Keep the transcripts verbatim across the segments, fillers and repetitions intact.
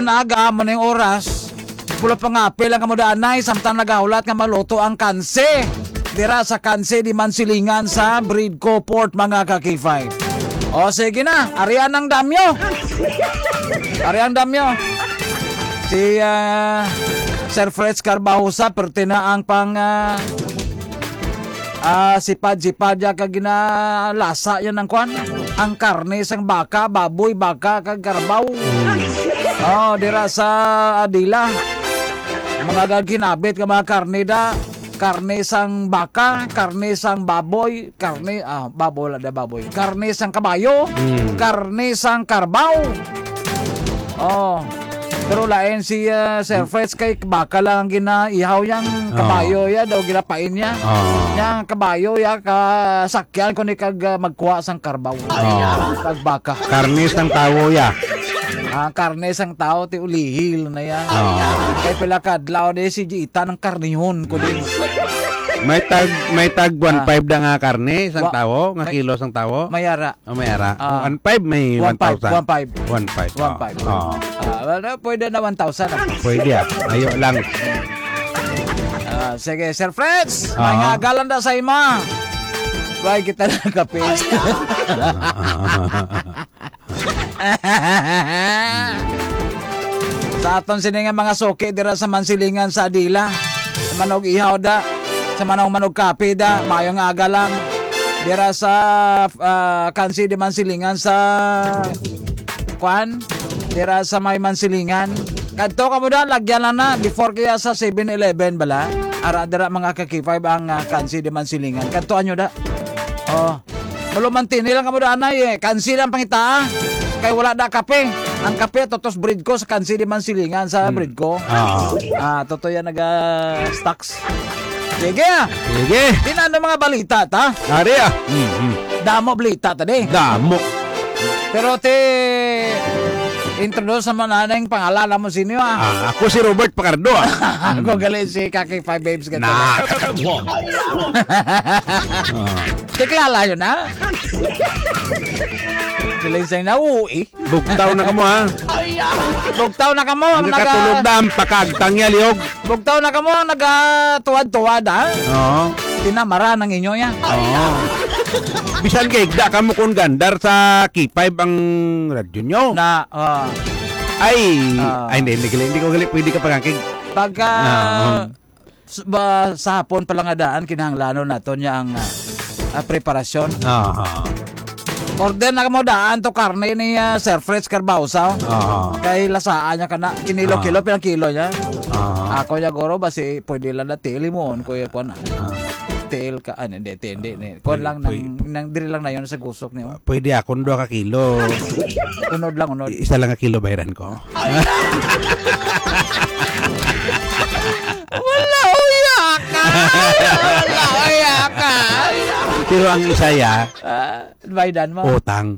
Aga, amo na yung oras. Pula pa nga, apil ang kamudaanay, samtang nagahulat nga maluto ang kanse. Dira sa kanse di Mansilingan sa Bridco Port, mga ka-K five. O, sige na, arian ang damyo. Arian ang damyo. Si, ah, Sir Fred Carbajosa, perte na ang pang, ah, ah, sipad-sipad ya kag ginalasa yan ang kwan. Ang karne sang baka, baboy, baka, kag karabaw. Oh, dira sa Adila. Mga gaghinabit nga mga karne da. Karne sang baka, karne sang baboy, karne, ah, baboy, wala na baboy. Karne sang kabayo, Mm. karne sang karabaw. Oh. Pero lain si, ah, Sir Fred kay baka lang ang ginaihaw yang Oo. kabayo ya, daw ginapain niya. Oo. Yang kabayo ya, kasakyan ko ni kag, ah, magkuha sang karbaw. Oo. Kag baka. Karne sang tawo ya. Ah, karne sang tawo, ti ulihil na ya. Oo. Kay pila ka adlaw di si Jita ng karnihon ko din. May tag, may tag Ah. one five na nga karne sang Wa-, tawo, nga may kilo sang tawo. May ara. Oh, may ara. Ah. One five, may One five, one thousand. One five. One five. One five. Oh. Ah, wala, pwede na one thousand, ah. Pwede, ah. Ayo lang. Ah, sige, Sir Freds, Ah. may ngagalan na sa ima. Why kita na kape? Sa aton sini nga mga suki dira sa Mansilingan sa Adila, sa Manog Ihaw da, sa Manong Manog Kape da, mayo nga aga lang. Dira sa, ah, kansi di Mansilingan sa, kwan? Dira sa may Mansilingan. Kadto ka mo da, lagyan lang na, before kaya sa Seven Eleven bala. Ara dira mga ka-K five ang, ah, kansi di Mansilingan. Kadto anyo da. Oh. Malumantini lang kamo da, anay, eh. Kansi lang pangitaa. Kay wala da kape. Ang kape, totos Bridco sa kansi di Mansilingan sa Mm. Bridco. Ah. Ah, totoo yan, naga-stocks. Sige, ah. Sige. Di na, ano mga balita, ta? Ari, ah. Mm, mm. Damo balita, ta, di? Damo. Pero, ti, introduce naman na yung pangalan mo, sino, ah? Ah, ako si Robert Pacardo, ah. Ako Mm. gali si Kaki Five Babes, ganito. Na. Ah. Kiklala yun, ha? Sila yung sa'yo na, uwi. Bugtaw na kamo, ha? Bugtaw na kamo, ang Ang naga- katulog na, ang pakagtang niya, lihog. Bugtaw na kamo, ang nagatuwad-tuwad, ha? Oo. Tinamara ng inyo, ya. Oo. Bisan kay da kamo kung gandar sa K five ang radyo nyo. Na, ah. Ay, Ah. ay, hindi, hindi, hindi ko gali, pwede ka pagkakig. Pagka, Ah, oo. S-, ba, sa hapon pa lang nga daan, kinahanglanon naton niya ang, ah, ah, preparasyon. Aha. Order na mo daan to karne ni, ah, Sir Fritz Carbausa, oh. Aha. Kay lasaan niya ka na, kinilo-kilo, Ah. pinang kilo niya. Aha. Ako niya, guro, basi pwede lang na tiil mo, kuya, kuwan, ah. Ah. Tiil ka, ah, hindi, hindi, hindi. Kuwan Pwede, lang, pwede. nang, nang, diri lang na yun sa gusok niyo. Pwede akong duha ka kilo. Unod lang, unod. I-, isa lang ka kilo bayaran ko. Wala, uya ka! Wala, uya ka! Pero ang isa, ya, Ah, baydan mo. utang.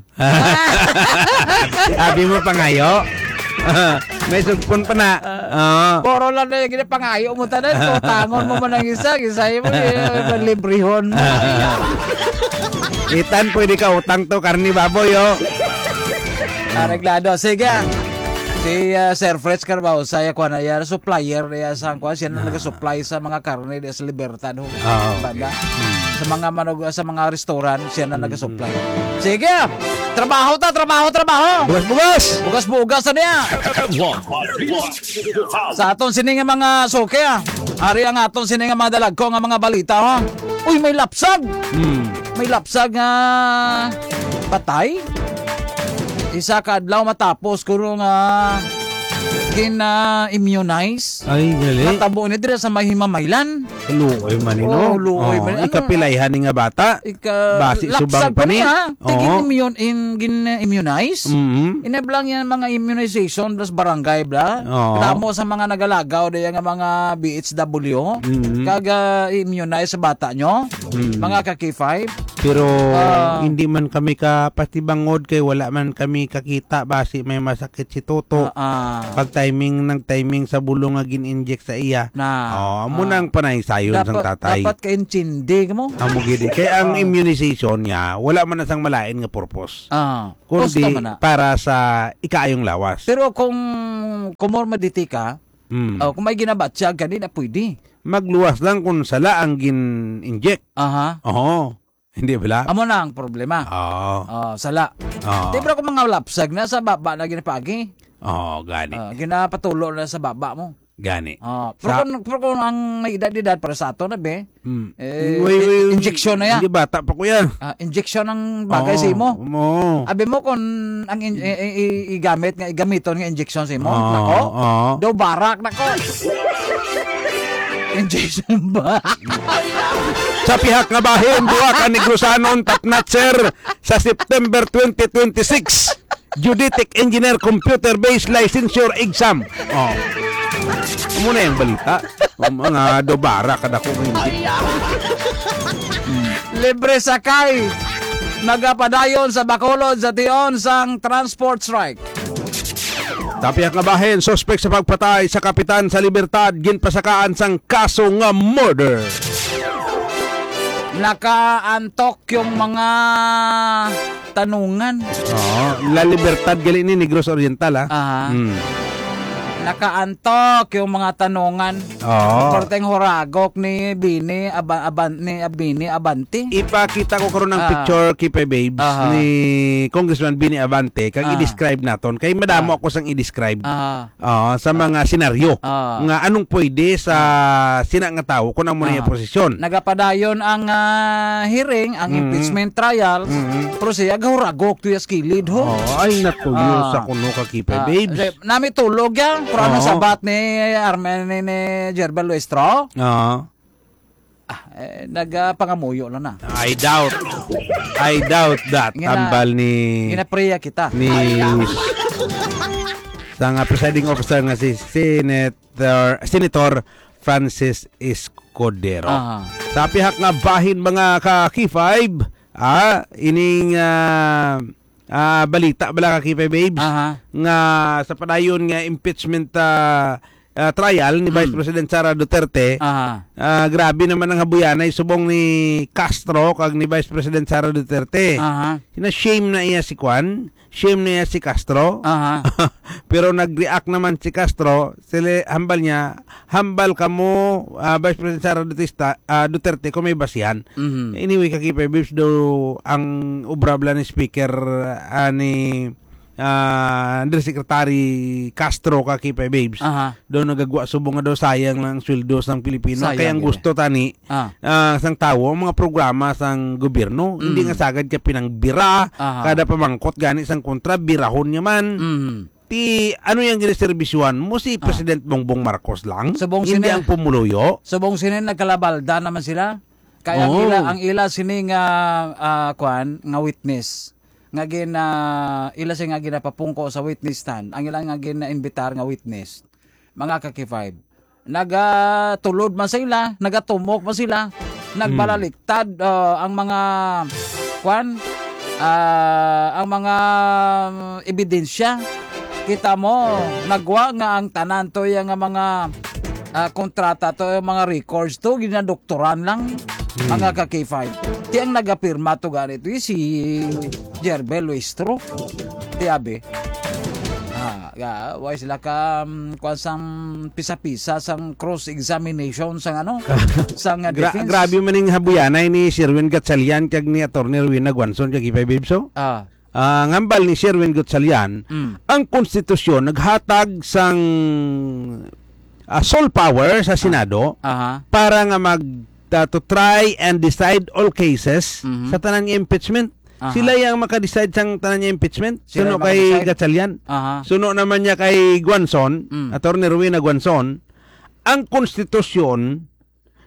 Sabi mo, pangayo? May sugpon pa na. Ah. Oo. Puro lang na yung ginapangayo mo, tanan. Utangon mo man ang isa, isa mo, eh, librehon mo. Itan, pwede ka utang to, karni baboy, oh. Areglado. Sige. Si, ah, Sir Fritz Carbao, saya ko na yan, supplier niya sa, kuwan, siya na Ah. nag-supply sa mga karne di sa Libertad, ho. Ah, okay. Banda. Hmm. Sa mga manog-, sa mga restaurant, siya na Hmm. nag-supply. Sige. Trabaho ta, trabaho, trabaho. Bugas, bugas. Bugas, bugas, ano yan? Sa aton sini nga mga suki, ah. Ari ang aton sini nga mga dalagko nga mga balita, ha. Uy, may lapsag. Hmm. May lapsag nga patay. Isa ka adlaw matapos kuno nga gina-immunize. Ay, gali. Natabo ni dira sa may Himamaylan. Luoy man ni, no? Oh, luoy Oh, man ni. Ano? Ikapilay, hani nga bata? Ika-, Basi lapsag subang pa pa ni. niya. Oo. Tigin-immune-, in-, gin-immunize. Mhm. Inablang yan mga immunization, plus barangay, bla. Oo. Damo sa mga nagalagaw, daya nga mga B H W. Mhm. Kag, ah, immunize sa bata nyo. Mhm. Mga ka-K five. Pero Ah. hindi man kami kapatibangod kay wala man kami kakita basi may masakit si Toto. Ah, ah. pag-timing, nag-timing sa bulong nga gin-inject sa iya. Na. Oh, amo Ah. na ang panaysayon sang Dapat, tatay. dapat kaintindi mo. Amo gid eh. Kay ang Ah. immunization niya, wala man na sang malain nga purpose. Ah. Kundi Gusto man na. para sa ikaayong lawas. Pero kung comorbidity ka, Mm. oh, kung may ginabatyag ka, di na pwede. Magluwas lang kung sala ang gin-inject. Aha. Oo. Hindi bala? Amo na ang problema. Oo. Oh, sala. Oo. Di ba kung mga lapsag na sa baba na ginapagi? Oo, gani. Ah, ginapatulo na sa baba mo. Gani. Ah, pero Sa kung, pero kung ang may edad-edad para sa ato na, be, Hmm. eh, Wait, wait, wait. injection na yan. Hindi, bata pa ko yan. Ah, injection ang bagay sa Oo, imo. oo. Abi mo kung ang in-, i-, i-, i-, igamit nga, igamiton nga injection sa imo, Oo, nako, oo. daw barak, nako. Injection ba? Sa pihak nga bahin, duha ka Negrosanon top notcher sa September twenty twenty-six Geodetic Engineer Computer-Based Licensure Exam. Oh. Amo na yung balita. Ang mga dobara, kadako ng hindi. Libre sakay. Nagapadayon sa Bacolod sa tion sang transport strike. Sa pihak nga bahin, suspek sa pagpatay sa kapitan sa Libertad, ginpasakaan sang kaso nga murder. Nakaantok yung mga tanungan. Oo, La Libertad gali ni, Negros Oriental, ah. Aha. Hmm. Nakaantok yung mga tanungan. Oo. Perting huragok ni Bini Aba-, Aban-, ni Bini Abante. Ipakita ko karon ang Ah. picture, Kipe Babes, Aha. ni Congressman Bini Abante, kag Ah. i-describe naton. Kay madamo Ah. ako sang i-describe. Ah. Oo, sa mga senaryo Ah. nga anong pwede sa sina nga tawo kung amo na iya Ah. posisyon. Nagapadayon ang, ah, hearing, ang Mm. impeachment trial, Mm. pero siya gahuragok to sa kilid, ho. Oh, ay, natuyo Ah. sa kuno ka, Kipe Ah, Babes. di, nami tulog yan, pero ano Oo. sabat ni Armen, ni, ni Jerbel Luistro? Oo. Ah, eh, nagapangamuyo lang na. I doubt. I doubt that. Gina-, Tambal ni ginapriya kita. ni sa nga presiding officer nga si Senator, Senator Francis Escudero. Aha. Sa pihak nga bahin, mga ka K five, ah, ining, ah, ah, balita bala ka K five Babes, Aha. nga sa padayon nga impeachment, ah, ah, trial ni Vice Mm. President Sara Duterte, Aha. ah, grabe naman ang habuyanay subong ni Castro kag ni Vice President Sara Duterte. Aha. Na-shame na iya si Kwan, shame na iya si Castro. Aha. Pero nag-react naman si Castro, sila, hambal niya, "Hambal kamo, ah, Vice President Sara Dutista-, ah, Duterte kung may basihan." Mhm. Anyway, ka K five Babes, do ang obra bala ni Speaker, ah, ni, ah, Undersecretary Castro, ka K five Babes, Aha. do nagagwa subong nga daw sayang lang ang sweldo sang Pilipino. Sayang Kaya ang yun. gusto tani, Ah. ah, sang tawo, ang mga programa sang gobyerno, hindi Mm. nga sagad ka pinangbira, Aha. kada pamangkot gani sang kontra, birahon niya man. Mm. Ti, ano yang giniserbisyuhan mo? Si Ah. President Bongbong Marcos lang? Subong Hindi sini-, ang pumuluyo? subong sini nagkalabalda naman sila? Kaya ang Oo. ila, ang ila sini nga, ah, kwan, nga witness. Nga gin-, ah, ila sini nga ginapapungko sa witness stand. Ang ila nga gina-imbitar nga witness. Mga ka K five. Nagatulod man sila, nagatumok man sila, Hmm. nagbalaliktad, ah, ang mga, kwan, ah, ang mga, mm, ebidensya. Kita mo, nagwa nga ang tanan to, yung nga mga, ah, kontrata to, yung mga records to, ginadoktoran lang, Hmm. mga ka K five. Ti ang nagapirma to gani to, si Jerbel Luistro. Ti abi. Ah, ga, why sila ka, um, kuwan sang pisa-pisa sang cross-examination sang ano? Sang, uh, Gra-, defense? grabe man ning habuyanay ni Sherwin Gatchalian kag ni Attorney Rowena Guanzon kag K five Babes, oh. Ah. Ah, ngambal ni Sherwin Gatchalian, Mm. ang konstitusyon naghatag sang, ah, sole power sa Ah. Senado Aha. para nga mag-, ah, to try and decide all cases Mhm. sa tanan nga impeachment. Aha. Sila yang maka-decide sang tanan niya impeachachment. Sila Suno yung kay maka-decide. Gatchalian. Aha. Suno naman niya kay Guanzon, Mm. Attorney Rowena Guanzon, ang konstitusyon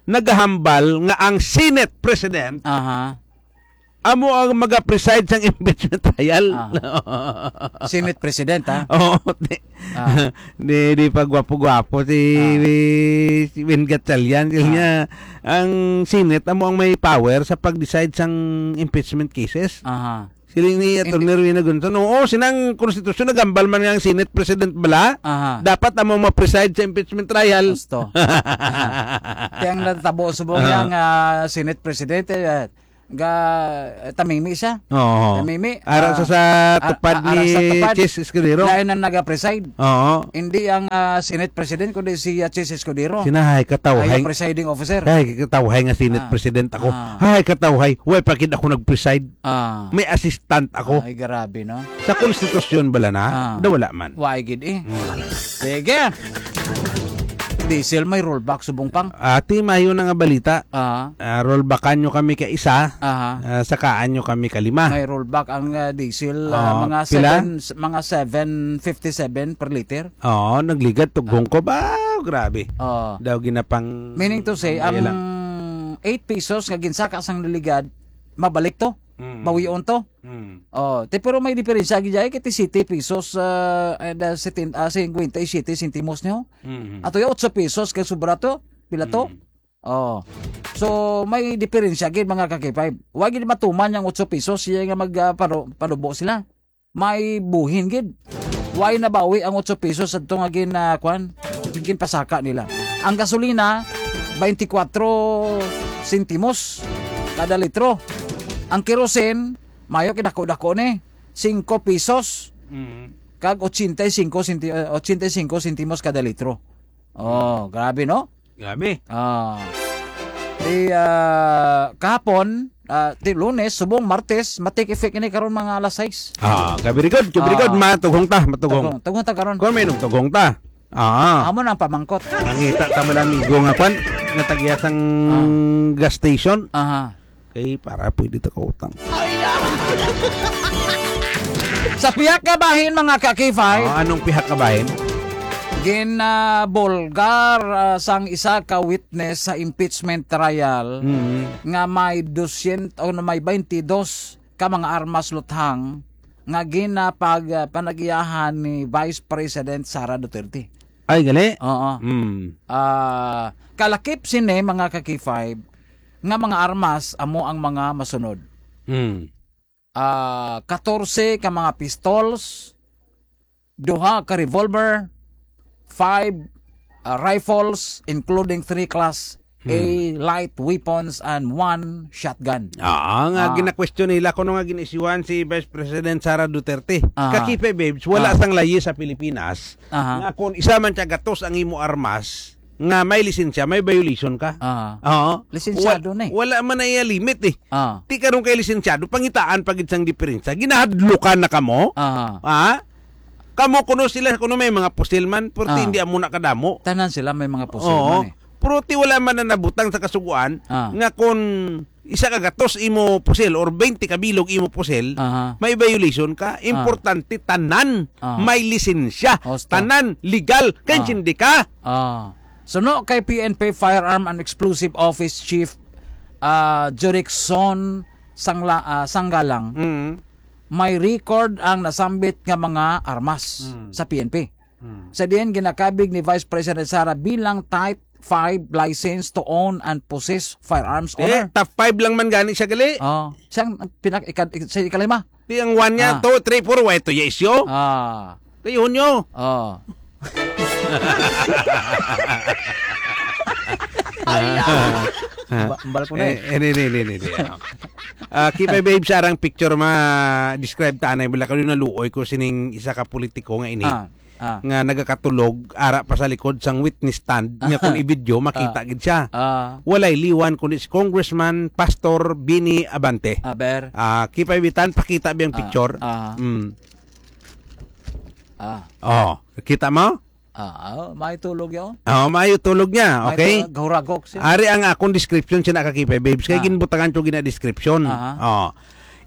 nagahambal nga ang Senate President Aha. amo ang maga-preside sang impeachment trial. Ah. Senate President, ha? Oo, di, Ah. di, di pa gwapo-gwapo si, Ah. si Ben Gatchalian. Kaya Ah. niya, ang Senate amo ang may power sa pag-decide sang impeachment cases. Aha. Siling ni Attorney Rowena Gonzon, "Oo, sinang konstitusyon, nagambal man nga ang Senate President bala. Aha. Dapat amo ma-preside sa impeachment trial." Gusto. Kaya ang natabo subong Ah. niya nga Senate President, eh, ga, eh, tamimi siya. Oo. Tamimi. Ara sa, Ah, sa ah, tupad ah, ara sa ni tupad. Chiz Escudero. Lain ang nagapreside. Oo. Hindi ang, ah, Senate President, kundi si, ah, Chiz Escudero. Sinahay, katawhay. Ay, ang presiding officer. Ay, katawhay nga Senate Ah. President ako. Ah. Ay, katawhay. Way pa gid ako nag-preside. Ah. May assistant ako. Ay, grabe, no? Sa konstitusyon bala na, Ah. daw wala man. Why gid eh? Hmm. Sige. Diesel may rollback subong pang. Ati, mayo na nga balita. Ah. Ah, rollbackan nyo kami ka isa, Aha. ah, sakaan nyo kami ka lima. May rollback ang, ah, diesel, ah, Ah, mga pila? seven, s-, mga seven fifty-seven per liter. Oo, nagligad, tughong ko. Ba, grabe. Oo. Daw ginapang Meaning to say, ang Kaya lang. eight pesos nga ginsaka sang naligad, mabalik to? Mm. Bawion to? Mm. Oh, te, pero may diferensya gid ay kay ti siyete pesos, ah, and, ah, setin-, ah, singkwenta y siyete sentimos niyo. Mm. Ato ya otso pesos kay sobra to, pila to? Mm. Oh. So, may diferensya gid, mga ka-K five. Wa gid matuman yang otso pesos, siya nga mag, ah, paro-, panubo sila. May buhin gid. Way nabawi ang otso pesos adto nga gin, ah, kwan, ginpasaka nila. Ang gasolina, twenty-four sentimos kada litro. Ang kerosene, mayo kay dako-dako ni, singko pesos. Mm. Kag ochenta y cinco senti-, ah, ochenta y cinco sentimos kada litro. Oh, grabe, no? Grabe. Ah. Di, ah, kahapon, ah, di Lunes, subong Martes, ma-take effect ini karon mga alas sais. Ah, ka very good, ka very good. Ah. Matughong ta, matughong. Tughong, tughong ta karon. Kung may nagtughong ta. Ah. Amo na ang pamangkot. Nangita ta man amigo nga kwan, nga tagya sang Ah. gas station. Aha. Kay para pwede ta kautang. Sa pihak nga bahin, mga ka-K five, Ah, anong pihak nga bahin? Ginabulgar, ah, sang isa ka witness sa impeachment trial Mm. nga may dosyentos o may twenty-dos ka mga armas luthang nga ginapag-, ah, panag-iyahan ni Vice President Sara Duterte. Ay, gali? Oo. Mm. Ah, kalakip sini, mga ka-K five, nga mga armas amo ang mga masunod. Mm. Ah, katorse ka mga pistols, duha ka revolver, five, ah, rifles, including three class A Hmm. light weapons, and one shotgun. Ah, nga Ah. ginakwestiyon nila kuno nga gin-isyuhan si Vice President Sara Duterte. Ah. Ka-K five Babes, wala Ah. sang layi sa Pilipinas Aha. nga kung isa man siya gatos ang imo armas, nga may lisensya, may violation ka. Ah. Oo. Lisensyado Wa-, na eh. wala man na iya limit eh. Ah. Ti karon kay lisensyado, pangitaan pa gid sang diferensya. Ginahadlukan na kamo? Ah. Ha? Kamo kuno sila, kuno may mga pusil man, pero ti Ah. hindi amo na kadamo. Tanan sila may mga pusil Oo. man eh. Pero ti wala man na nabutang sa kasugoan Ah. nga kung isa ka gatos imo pusil or twenty ka bilog imo pusil, Aha. may violation ka. Ah. Importante, tanan Ah. may lisensya. Osta. Tanan legal. Kay Ah. hindi ka. Ah. Suno kay P N P Firearm and Explosive Office Chief, ah, Jurickson Sangla-, ah, Sanggalang, Mm. may record ang nasambit nga mga armas Mm. sa P N P. Mm. Sa diin ginakabig ni Vice President Sara bilang Type five license to own and possess firearms Eh, owner. top five lang man gani siya gali. Oh, siyang pinak-, ika-, sa ikalima. Di ang one niya, Ah. two, three, four, why to ya isyo? Ah. Kayo nyo. Oh. Ay, ah. Ah. Ba-, ambal ko na eh. Eh, eh, ni, ni, ni, ni, ni, ano. Ah, K five Babes, arang picture ma-describe ta anay, bala kayo naluoy ko sining isa ka politiko nga ini. Ah, ah. Nga nagakatulog, ara pa sa likod sang witness stand, nga kung i-video, makita Ah. gid siya. Ah. Walay liwan, kundi si Congressman Pastor Bini Abante. Aber. Ah, K five Babes, pakita biyang Ah, picture. ah. Mm. Ah. Oh, kita mo? Ah, ah, may tulog yun. Oh, maayo tulog niya, May okay? tulog, gahuragok siya. Ari ang akong description siya, ka-K five Babes. Kay Ah. ginbutangan ko gina description. Aha. Oh.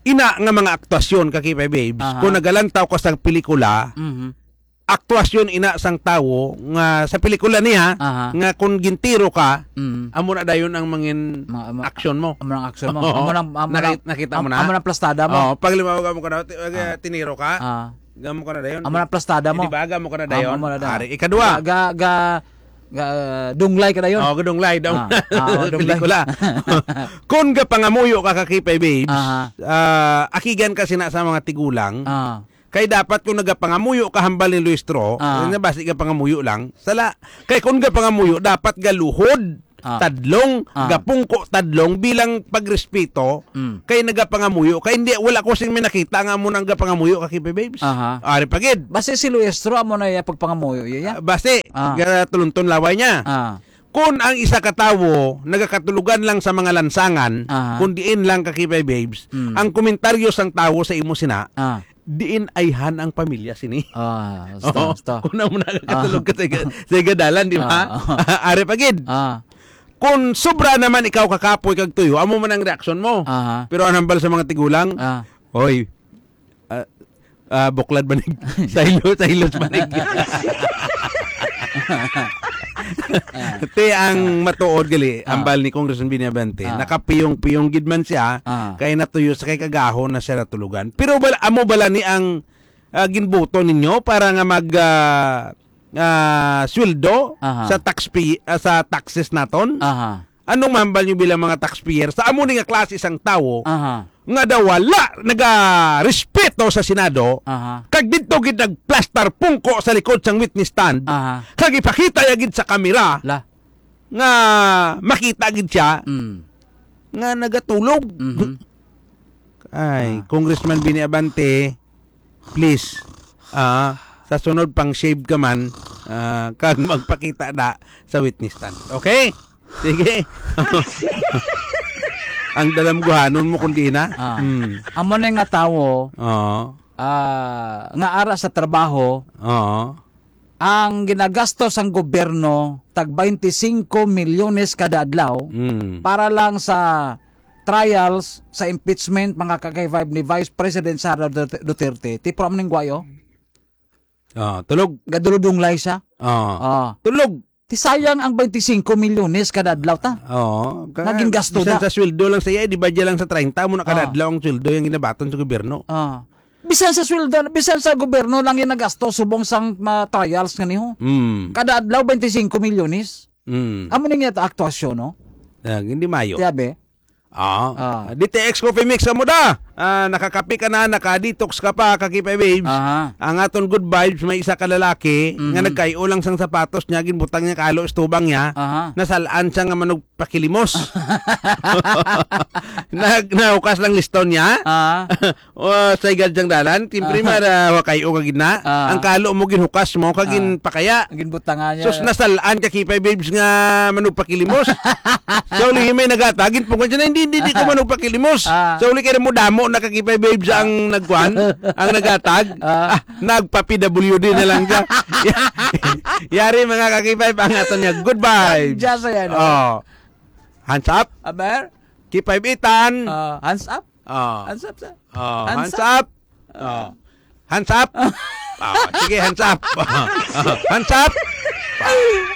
Ina nga mga aktuasyon, ka-K five Babes, Aha. kung nagalantaw ka sa pelikula, Mhm. aktuasyon ina sang tawo nga sa pelikula niya, Aha. nga kung gintiro ka, Mhm. amo na dayon ang mangin Mga, ama-, action mo. amo nang action mo. Oo. Amo nang, amo Naki-, nang, nakita mo am-, na? amo nang plastada mo. Oh, pag limawag mo ka na, ti-, Ah. tiniro ka, Ah. Gamo ka na dayon. Amo na plastada mo. Di ba? Gamo ka na Ah, dayon. amo na dayon. Ari, ikadua. Ga, ga, Ga-, dunglay ka dayon? Oh, dunglay daw. Ah, ah, oh, dunglay. Pelikula. Kung gapangamuyo ka, ka K five Babes, Aha. ah, akigan ka sina sa mga tigulang, Ah. kay dapat kung nagapangamuyo ka hambal ni Luistro, Ah. na basi gapangamuyo lang, sala. Kay kung gapangamuyo, dapat galuhod, Ah. tadlong, Ah. gapungko tadlong bilang pagrespeto, Mm. kay nagapangamuyo. Kay hindi, wala ko sing may nakita nga amo nang gapangamuyo, ka K five Babes. Aha. Ari pa gid. Basi si Luistro, amo na iya pagpangamuyo, iya? Ah, basi, Ah. ga-, tulunton laway niya. Ah. Kung ang isa ka tawo nagakatulugan lang sa mga lansangan, Aha. kung diin lang, ka K five Babes, Mm. ang komentaryo sang tawo sa imo sina, Ah. diin ayhan ang pamilya sini. Ah, basta, Oo. basta. Kung amo na katulog Ah. ka sa ga-, sa gadalan, di ba? Ah, ah. Ari pa gid. Ah. Kung sobra naman ikaw kakapoy kag tuyo, amo man ang reaksyon mo. Aha. Pero ang hambal sa mga tigulang, Ah. "Hoy, ah, ah, buklad banig. Saylo, saylo banig." Ti ang matuod gali, Ah. hambal ni Congressman Benny Abante, Ah. nakapiyong-piyong gid man siya, Ah. kay natuyo sa kay kagahon na siya natulugan. Pero bala, amo bala ni ang, ah, ginboto ninyo para nga mag, ah, ah, sweldo Aha. sa taxpay-, ah, sa taxes naton? Aha. Anong mahambal nyo bilang mga taxpayer sa amo ni nga klase sang tawo Aha. nga daw wala nagarespeto sa Senado, Aha. kag didto gid nagplastar pungko sa likod sang witness stand, Aha. kag ipakita ya gid sa kamera La. nga makita gid siya Mm. nga nagatulog? Mhm. Ay, Ah. Congressman Benny Abante, please, ah, sa sunod pang shave ka man, ah, kag magpakita na sa witness stand. Okay? Sige. Ang dalamguhanon mo kundi na. Ah. Hmm. Amo na nga tawo, Oo. ah, nga ara sa trabaho, Oo. ang ginagasto sang gobyerno tag twenty-cinco milyones kada adlaw Mm. para lang sa trials sa impeachment, mga ka-K five, ni Vice President Sara Duterte, Duterte, tipro man ning guwayo. Ah, tulog. Gaduludunglay siya. Ah. Ah. Tulog. Ti sayang ang twenty-cinco milyones kada adlaw ta. Oo. Nga gingasto Bisan da. sa sweldo lang sa iya, di ba dyan lang sa treinta mo na kada Ah. adlaw ang sweldo yung ginabaton sa gobyerno? Ah. Bisan sa sweldo, bisan sa gobyerno lang yung nagasto subong sang mga trials nga niho. Mm. Kada adlaw, twenty-cinco milyones. Mm. Amo na nga ta aktuasyon, no? Ah, hindi mayo. Tiyabe? Ah. Ah. D T X Coffee Mix, amo da. Ah, nakakape ka na, naka-detox ka pa, ka K five Babes. Aha. Ang aton good vibes, may isa ka lalaki nga Mhm. nagkayo lang sang sapatos niya, ginbutang niya kalo, estubang niya, Aha. nasalaan siya nga manugpakilimos. Nag-, nahukas lang liston niya. Ah. O, sa igad sang dalan, siyempre, Ah. mara, wa kayo ka gid na. Ah. Ang kalo mo, ginhukas mo, kag Ah. ginpakaya. Ginbutangan niya. Sus, nasalaan ka, K five Babes, nga manugpakilimos. Sa uli, may nagatag, ginpungan siya na, "Hindi, hindi, hindi ko Ah. manugpakilimos." Ah. Sa uli, kaya mo damo na ka K five Babes Ah. ang nagkuhan, ang nagatag. Ah. Ah, nagpa-P W D na lang siya. Yari, mga ka K five, ang ato niya. Good vibes. Just ayan, Oh. Hands up. Aber? K five Itan. Ah, hands up? Oh. Hands up, sir. Oh, Hands hands up. up. Oh. Hands up. Oh, sige, hands up. Hands up.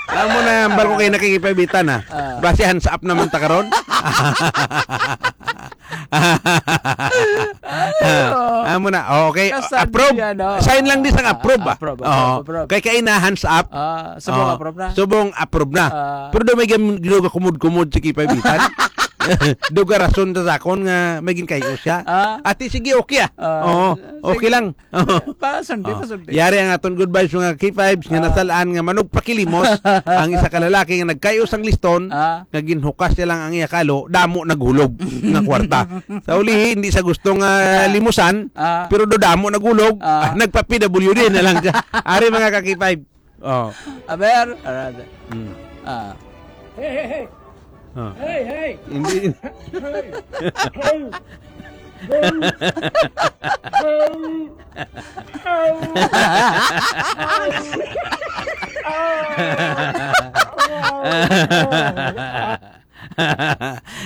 Alam mo na, hambal ko kayo nakikipagbitan, ha? Ah. Basi hands up naman ta karon. Ay, oh. Amo na. Oh, okay. Kasadya, Approve. no? Sign lang di sang Ah, approve, ah. approve, approve, Oo. approve. Kay kaina, hands up. Ah, subong Oo. approve na. Subong approve na. Ah. Pero daw may gam-, ginawa kumod-kumod si Kipay Bitan. Daw garason sa sakon nga may ginkayo siya. Ah. Ati, sige, okay, ah. Ah, Oo, sige. okay lang. Oo. Pasundi, Oh. pasundi. Yari ang aton good vibes, mga K fives, nga Ah. nasalaan nga manugpakilimos ang isa ka lalaki nga nagkayo sang liston, Ah. nga ginhukas niya lang ang iya kalo, damo naghulog nga kwarta. Sa ulihi, hindi sa gusto nga Ah. limusan, Ah. pero do damo naghulog, Ah. ah, nagpa-P W D na lang siya. Ari, mga ka-K five. Oh. Aber, arada. Hmm. Ah. Hey, hey, hey. Oh. Hey, hey. Hindi. Hey. Hey. Hey. Hey.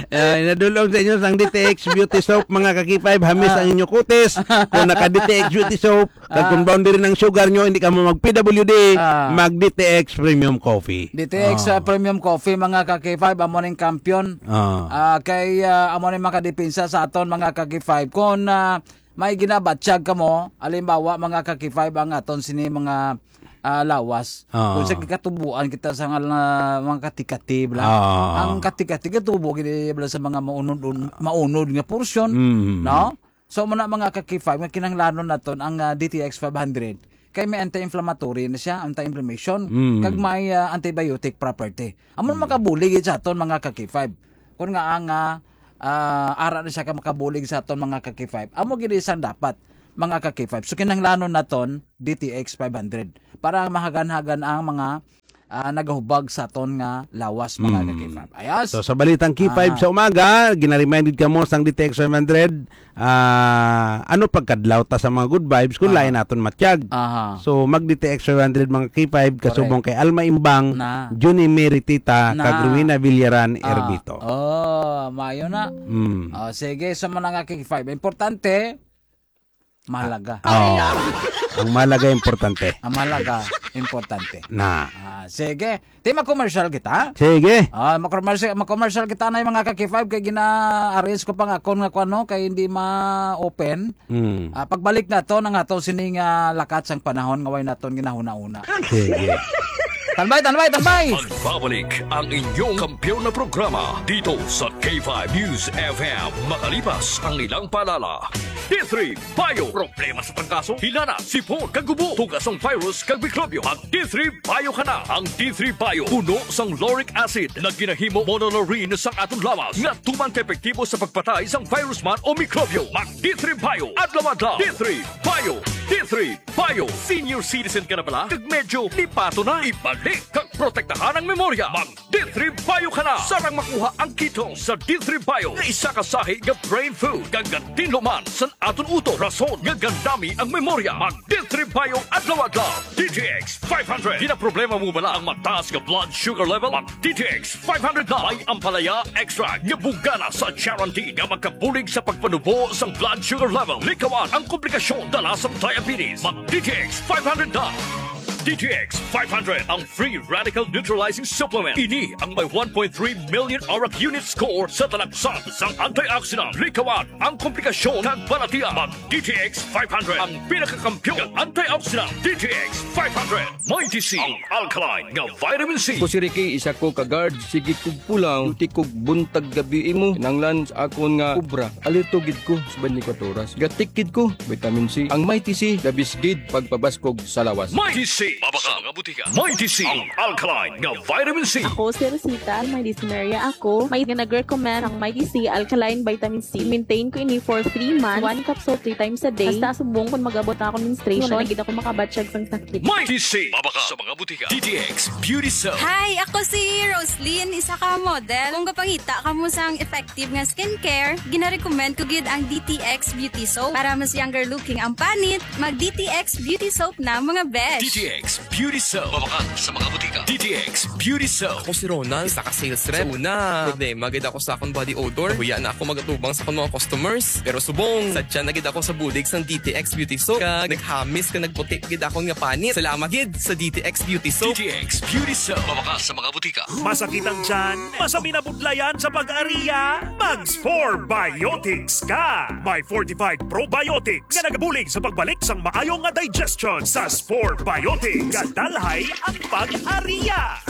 Eh, nadulong sa inyo sang D T X Beauty Soap, mga ka-K five, hamis Ah. ang inyo kutis. Kung naka-D T X Beauty Soap, kag Ah. kung boundary ng sugar nyo, hindi ka mo mag-P W D, Ah. mag-D T X Premium Coffee. D T X, Ah. ah, Premium Coffee, mga ka-K five, amo ning kampiyon. Ah. Ah, kay, ah, amo ning makadepensa sa aton, mga ka-K five. Kung, ah, may ginabatyag ka mo, halimbawa, mga ka-K five, ang aton sini mga ah, lawas. Oo. Kung sa katubuan kita sa nga, mga kati-kati, bla. Oo. Ang kati-kati katubo gid, bla, sa mga maunod, maunod nga porsyon, Mm. no? So, muna, mga ka-K five, nga kinahanglanon naton ang, ah, D T X five hundred. Kay may anti-inflammatory na siya, anti-inflammation, Mm. kag may, ah, antibiotic property. Amo Mm. makabulig sa aton, mga ka-K five. Kung nga ang, ah, ah, ara na siya ka makabulig sa aton, mga ka-K five. Amo gid isang dapat, mga ka-K five. So, kinahanglanon naton D T X five hundred para mahagan-hagan ang mga, ah, nagahubag sa aton nga lawas, mga Mm. ka-K five. Ayos? So, sa balitang K five Ah. sa umaga, ginaremind gid kamo sang D T X five hundred, ah, ano pagkadlaw ta sa mga good vibes kung Ah. lain naton matyag. Aha. So, mag-D T X five hundred, mga K five, Correct. kasubong kay Alma Imbang, Na. Junie Meritita, Na. kag Rowena Villaran Ah. Erbito. Oh, mayo na. Mm. Oh, sige, sa mga nga K five. Importante, mahalaga. Oh. Ang mahalaga, importante. Ang mahalaga, importante. Na. Ah, sige. Di, mag-commercial kita. Sige. Ah, mag-commercial, mag-commercial kita na yung mga ka-K five kay gina-arrange ko pa nga akon nga kuno kay hindi ma-open. Hmm. Ah, pagbalik naton ang aton sining, ah, lakat sang panahon nga way naton ginahuna-una. Sige. Tanbay, tanbay, tanbay! Magbabalik ang inyong kampiyon na programa dito sa K five News F M. Makalipas ang ilang paalala. D three Bio. Problema sa trangkaso, hilana, sipon, kag ubo, tugas ang virus kag mikrobyo. Mag D three Bio ka na. Ang D three Bio puno sang lauric acid nga ginahimo monolaurin sang aton lawas nga tuman ka epektibo sa pagpatay sang virus man o mikrobyo. Mag D three Bio adlaw-adlaw. D three Bio. D three Bio. Senior citizen ka na bala? Kag medyo lipato na? Ibalik kag protektahan ang memorya. Mag D three Bio ka na. Sarang makuha ang ketone sa D three Bio nga isa ka sahi nga brain food kag gatinlo man sa aton utok, rason nga gandami ang memorya. Mag D three Bio adlaw-adlaw. D T X five hundred. Ginaproblema mo bala ang mataas nga blood sugar level? Mag D T X five hundred na. May ampalaya extract nga bungana sa charantin nga makabulig sa pagpanubo sang blood sugar level. Likawan ang komplikasyon dala sa diabetes. Mag D T X five hundred na. D T X five hundred, ang free radical neutralizing supplement. Ini ang may one point three million arak unit score sa talaksan sang antioxidant. Likawan ang komplikasyon kag balatian. Mag D T X five hundred, ang pinakakampiyon nga antioxidant. D T X five hundred, Mighty C, ang alkaline nga vitamin C. Ako si Ricky, isa ko ka guard. Sige kog pulaw, duty kog buntag gabi imo. Kinahanglan sa akon nga obra, alerto gid ko sa twenty-four oras. Gatik gid ko, vitamin C. Ang Mighty C, the best gid pagpabaskog sa lawas. Mighty C, mabakal nga butika. Mighty C, ang alkaline nga vitamin C. Ako si Rosita, may dysmenorrhea ako. May nag-recommend ang Mighty C alkaline vitamin C. Maintain ko ini for three months. One capsule three times a day. Hasta subong kung mag-abot na akong menstruation, wala na gid ako makabatyag sang sakit. Mighty C, mabakal sa mga butika. D T X Beauty Soap. Hi, ako si Roslyn, isa ka model. Kung gapangita kamo sang effective nga skincare, ginarecommend ko gid ang D T X Beauty Soap. Para mas younger looking ang panit, mag D T X Beauty Soap na, mga besh. D T X Beauty Soap. Mabakal sa mga butika. D T X Beauty Soap. Ako si Ronald, isa ka sales rep. Sa una, problema gid ako sa akong body odor. Nahuya na ako magatubang sa akong mga customers. Pero subong, sadya na gid ako sa bulig sang D T X Beauty Soap. Kag naghamis ka nagputi gid akon nga panit. Salamat gid sa D T X Beauty Soap. D T X Beauty Soap. Mabakal sa mga butika. Masakit ang tiyan? Masabi na budlayan sa pag-ariya? Mag Spore Biotics ka! May fortified probiotics nga nagabulig sa pagbalik sang maayo nga digestion. Sa Spore Biotics, kadalhay ang pag-ariya.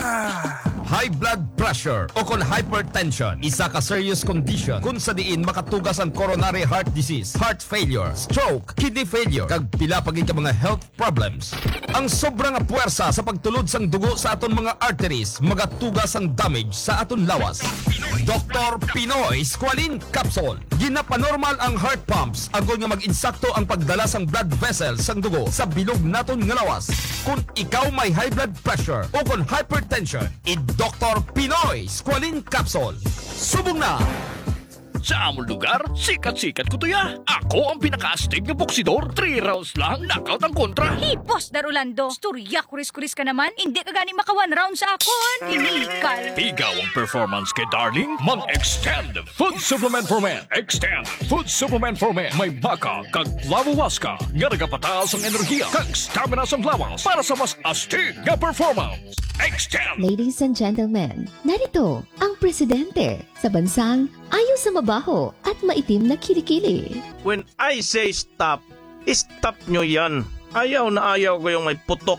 High blood pressure ukon hypertension, isa ka serious condition kung sa diin makatugas ang coronary heart disease, heart failure, stroke, kidney failure, kag pila pa gid ka mga health problems. Ang sobra nga puwersa sa pagtulod sang dugo sa aton mga arteries magatuga sang damage sa aton lawas. Doktor Pinoy Squalene Capsule. Ginapanormal ang heart pumps agod nga mag-insakto ang pagdala sang blood vessels sang dugo sa bilog naton nga lawas. Kung ikaw may high blood pressure o kon hypertension, i Doktor Pinoy Squalene Capsule. Subong na! Sa amon lugar, sikat-sikat ko tuya. Ako ang pinakaastig nga boksidor. Three rounds lang, knockout ang kontra. Hipos, Dar Orlando. Storya, kuris-kuris ka naman. Hindi ka gani maka one round sa akon. Inilikal. Ikaw ang performance kay Darling? Mag-Extend Food Supplement for Men. Extend Food Supplement for Men. May maca kag flavowaska nga nagapataas ang enerhiya kag stamina sang lawas para sa mas astig nga performance. Extend. Ladies and gentlemen, narito ang presidente sa bansang ayaw sa mabaho at maitim na kilikili. When I say stop, stop nyo yan. Ayaw na ayaw ko yung may putok